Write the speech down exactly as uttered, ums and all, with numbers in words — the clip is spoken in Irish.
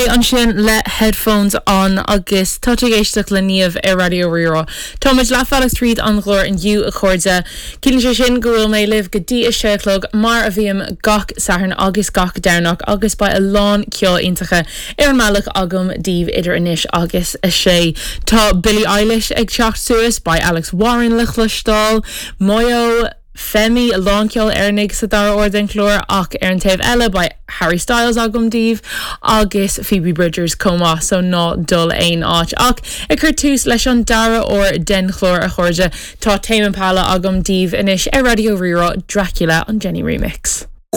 Ansin le headphones on agus tá ag éisteacht le Niamh ar Raidió Rí-Rá. Táimid leathbhealach tríd an gclár inniu a chairde. Ciallaíonn sé sin go bhfuil mé libh go dtí a sé a chlog mar a bhím gach Satharn agus gach Domhnach agus beidh a lán ceol iontach ar an mbealach agam daoibh idir anois agus a sé. Tá Billie Eilish ag teacht suas beidh Alex Warren le cloisteáil, Moyo, Femi a lán ceol Éireannach sa dara huair den chlár ach ar an taobh eile beidh Harry Styles agam daoibh agus Phoebe Bridgers comá so ná dul aon áit ach ag cur tús leis an dara huair den chlár a chairde tá Tame Impala agam daoibh anois ar Raidió Rí-Rá Dracula an Jenny Remix.